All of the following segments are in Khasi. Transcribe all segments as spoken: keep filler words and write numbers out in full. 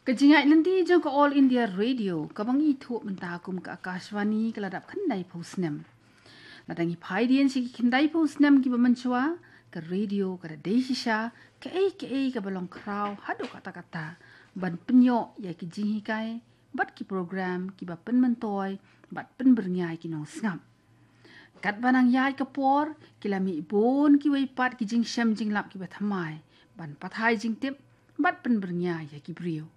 Ka jingïaid lynti jong ka All India Radio, kaba ngi thuh mynta kum ka Akashvani, ka la dap khyndai phew snem. Lada ngi phai dien sha ki khyndai phew snem kiba mynshuwa, ka radio ka da dei shisha kaei kaei kaba long khraw haduh katta katta ban pynïoh ïa ki jinghikai bad ki program kiba pynmyntoi bad pynbyrngia ïa ki nongsngap. Katba nang ïaid ka por, ki la mih bun kiwei pat ki jingshem jinglap kiba thymmai ban pathai jingtip bad pynbyrngia ïa ki briew.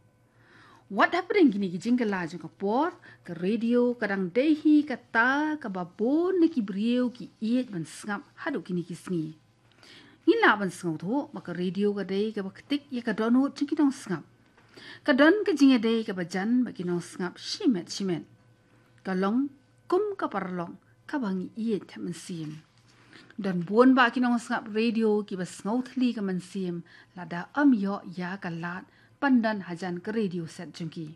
Wat hapdeng kine ki jingkylla jong ka por, ka radio ka dang dei hi kata kaba bun na ki briew ki ïeit ban sngap haduh kine ki sngi. Ngi lah ban sngewthuh ba ka radio ka dei kaba ktik ïa ka dohnud jong ki nongsngap. Ka don ka jingïadei kaba jan bad ki nongsngap shimet shimet. Ka long kum ka paralok kaba ngi ïeit ha mynsiem. Don bun bah ki nongsngap radio kiba sngew thylli ka mynsiem lada ym ïoh ïa ka lad ban don hajan ka radio set jong ki.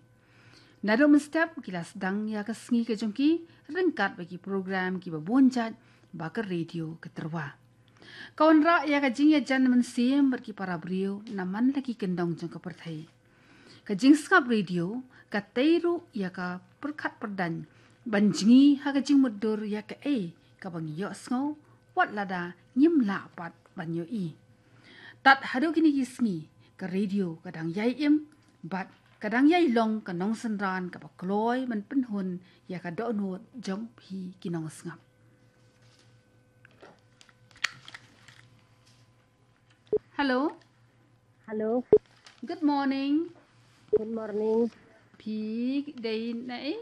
Naduh mynstep ki la sdang ïa ka sngi ka jong ki ryngkat bad ki program kiba bun jait ba ka radio ka tyrwa. Ka wanrah ïa ka jingïajan mynsiem bad ki para briew na man la ki kyndong jong ka pyrthei. Ka jingsngap radio ka tei ruh ïa ka pyrkhat pyrdaiñ ban jngi ha ka jingmutdur ïa kaei kaba ngi ïohsngew, wat lada ngim lah pat ban ïohi. Tad haduh kine ki sngi, ka radio ka dang ïai im bad ka dang ïai long ka nongsynran kaba kloi ban pynhun ïa ka dohnud jong phi ki nongsngap. Hello. Hello. Good morning. Good morning. Phi dei na ei?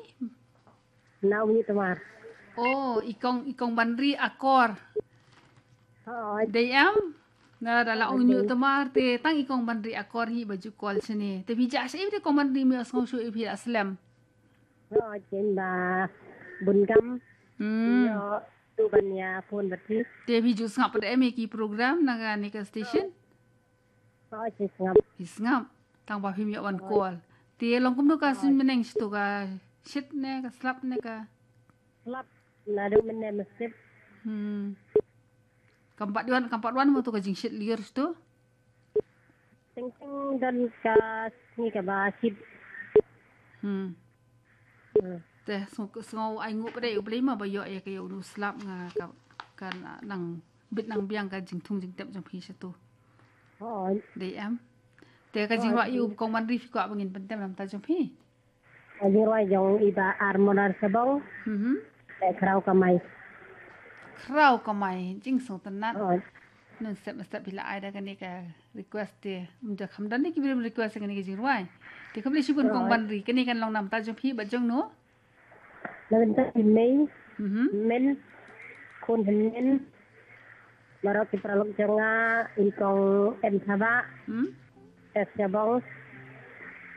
Na Umïohtmar. Oh, i kong, i kong Banri Akor. Hooid. Dei em? Na da la Hooid, Umïohtmar te tang i kong Banri Akor hi ba ju call shane. Te phi jah shaei te kong Banri, me sngew shuh i phi la slem. Hooid, ken ba bun kam. Hmm. Ïoh tu ban ïa phone bad phi. Te phi ju sngap pat em ïa ki program na kane ka station? Hooid, phi sngap. Phi sngap. Tang ba phim ïoh wan call. Te long kumno ka suiñ bneng shatu, ka shit ne ka slap ne ka? Slap. Naduh mynne mynstep. Hmm. Kam pat wan, kam pat wan mo tu ka jingshit lyiur shatu? Teng teng don ka sngi kaba shit. Hmm. Hmm. Te sngew, sngew ai nguh pat ïa U Blei mo ba ïoh ïa ka, ïa une u slap, nga ka, ka nang bit nang biang ka jingthung jingtep jong phi shatu. Hooid. Dei em? Te ka jingrwai ïa u kong Banri phi kwah ba ngin pyntem na bynta jong phi? Ka jingrwai jong i Bah Armonar Sabong. Mhm. Te Khraw Kamai. Khraw Kamai, jingsngewtynnat. Hooid. Mynstep mynstep phi la ai da kane ka request te. Ym da kham don ne ki briew request kane ka jingrwai. Te khublei shibun kong Banri, kane kan long na bynta jong phi bad jong no? Na bynta i Mei. Mhm. Min. Khun Hynnin. Baroh ki paralok jong nga, i kong Em Thabah. Hmm? Tess Shabong.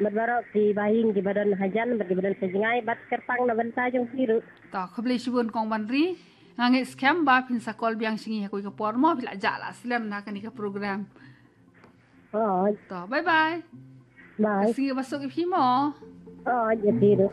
Bad baroh ki bahaïing kiba don hajan bad kiba don sha jngai bad kyrpang na bynta jong phi ruh. To, khublei shibun kong Banri. Nga ngeit skhem ba phin sa call biang sha ngi ha kawei ka por mo, phi la jah la slem na kane ka program. Hooid. To, bye bye. Bye. Ka sngi ba suk ïa phi mo. Hooid, ïa phi ruh.